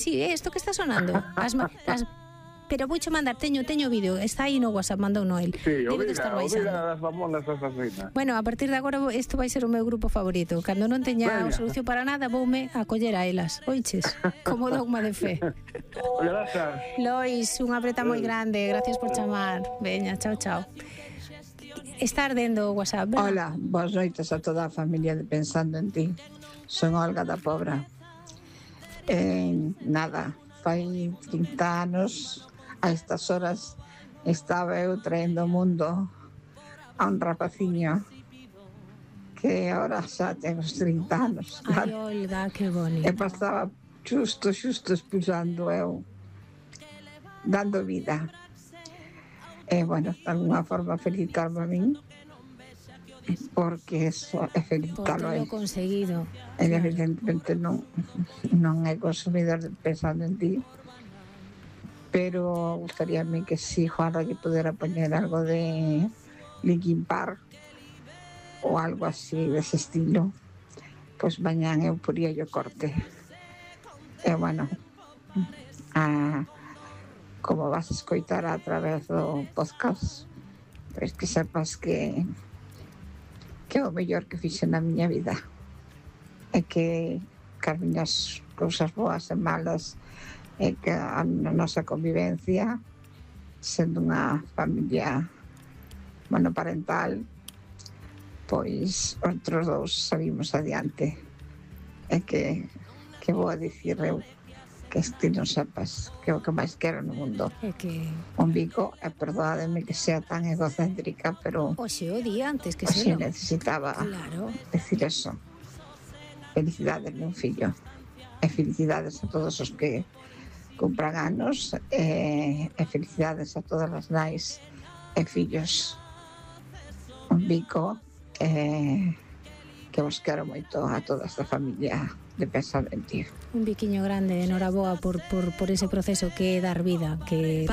Sí, isto que está sonando. Pero vouche mandar, teño vídeo, está aí no WhatsApp, mandou Noel. Sí, Debe de o estar vida baixando. das mamonas asasinas. Bueno, a partir de agora isto vai ser o meu grupo favorito. Cando non teña solución para nada, voume a coller a elas. Oiches, como dogma de fe. Grazas. Lois, unha apreta moi grande, gracias por chamar. Veña, chao, chao. Está ardendo o WhatsApp, ¿verdad? Hola, boas noites a toda a familia de Pensando en Ti. Son Olga da Pobra. Nada, fai 30 anos a estas horas estaba eu traendo ao mundo a un rapaciño que ahora xa ten os 30 anos. Ai, Olga, que bonito. E pasaba xusto expulsando eu, dando vida. E, bueno, de alguna forma felicitarme a min, porque eso é felicitalo Por a lo él. conseguido. Evidentemente non é consumidor de Pensando en Ti, pero gustaríame que si Juanra lle pudera poñer algo de Linkin Park ou algo así dese estilo, pois mañán eu poría o corte. E bueno, como vas a escoitar a través do podcast, pois que sepas que é o mellor que fixe na miña vida, e que as miñas cousas boas e malas, e que a nosa convivencia, sendo unha familia monoparental, pois outros dous salimos adiante. E que vou a dicir eu, que ti non sepas que é o que máis quero no mundo. É que Un bico, e perdoademe que sea tan egocéntrica, pero hoxe o día antes que así se necesitaba Claro. decir eso. Felicidades, meu fillo, e felicidades a todos os que cumpran anos, e felicidades a todas as nais e fillos. Un bico, que vos quero moito a toda esta familia de Pensando en Ti. Un biquiño grande, enhoraboa por ese proceso que é dar vida, que